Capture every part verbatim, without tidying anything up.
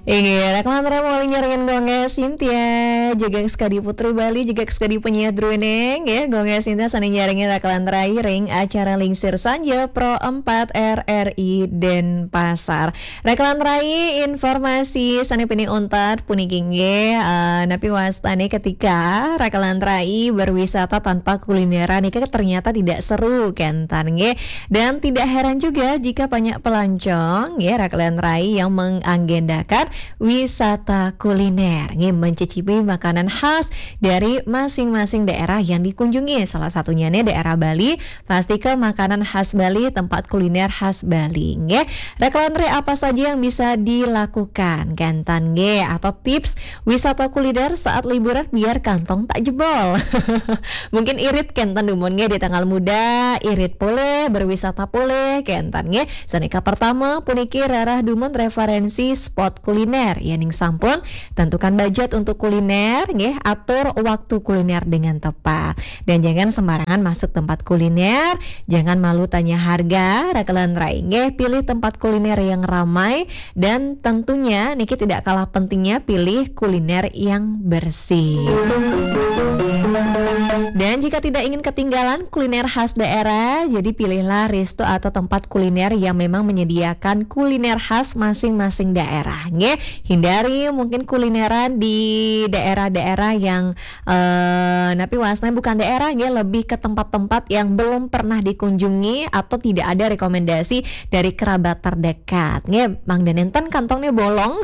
Inggih, Raka lan Rai malih nyarengin Gung Sintia, juga Sekadi Putri Bali, juga Sekadi Penyiar Druéning, ya, Gung Sintia sané nyarengin Raka lan Rai ring acara Lingsir Sanja Pro empat R R I Denpasar. Raka lan Rai, informasi sané pinih untat puniki nggih, eh, napi wastané ketika Raka lan Rai berwisata tanpa kulineran niki ternyata tidak seru, kénten nggih. Dan tidak heran juga jika banyak pelancong, ya, Raka lan Rai yang mengagendakan wisata kuliner, nggih, mencicipi makanan khas dari masing-masing daerah yang dikunjungi. Salah satunya nih daerah Bali, pasti ke makanan khas Bali, tempat kuliner khas Bali, nggih. Raka lan Rai, apa saja yang bisa dilakukan, kénten nggih, atau tips wisata kuliner saat liburan biar kantong tak jebol. Mungkin irit kénten dumun nggih di tanggal muda, irit polih, berwisata polih, kénten nggih. Sané kapertama puniki rereh dumun referensi spot kuliner. Yéning sampun, tentukan budget untuk kuliner nggih, atur waktu kuliner dengan tepat. Dan jangan sembarangan masuk tempat kuliner, jangan malu tanya harga, Raka lan Rai nggih, pilih tempat kuliner yang ramai, dan tentunya niki tidak kalah pentingnya pilih kuliner yang bersih. Dan jika tidak ingin ketinggalan kuliner khas daerah, jadi pilihlah resto atau tempat kuliner yang memang menyediakan kuliner khas masing-masing daerah, nggih. Hindari mungkin kulineran di daerah-daerah yang, eh, napi wastané bukan daerah, nggih, lebih ke tempat-tempat yang belum pernah dikunjungi atau tidak ada rekomendasi dari kerabat terdekat, nggih. Mangda nénten kantongné bolong,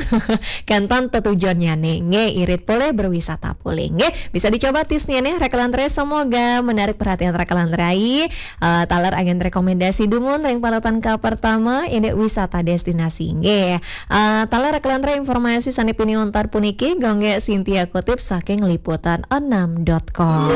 kénten tetujonnyané, nggih, irit polih, berwisata polih, nggih. Bisa dicoba tipsnya nih, Raka lan Rai, semoga menarik perhatian Raka lan Rai. Eh, taler anggén rekomendasi dumun ring paletan kapertama, indik wisata destinasi, nggih. Eh, taler Raka lan Rai, informasi sané pinih untat puniki Gung Sintia kutip saking liputan enam dot com.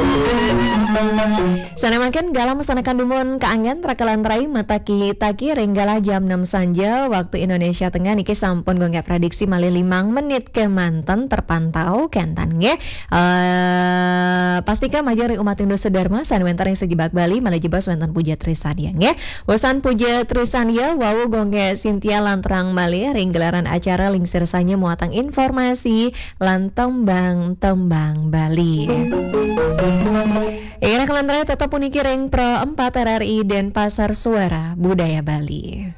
Sané mangkin galah masandekan dumun kaanggén Raka lan Rai, mataki-taki ring galah jam enam sanja waktu Indonesia Tengah niki sampun Gung prediksi malih limang menit kémanten terpantau, kénten nggih. Eh, pastika majeng ring umat Hindu sedherma sané wénten ring sajebag Bali, malih jebos wénten Puja Trisandya nggih. Wusan Puja Trisandya wau Gung Sintia lanturang malih ring gelaran acara Lingsir Sanja muatang informasi lan tembang-tembang Bali. Inggih, Raka lan Rai, tetep puniki ring Pro empat R R I Denpasar, Suara Budaya Bali.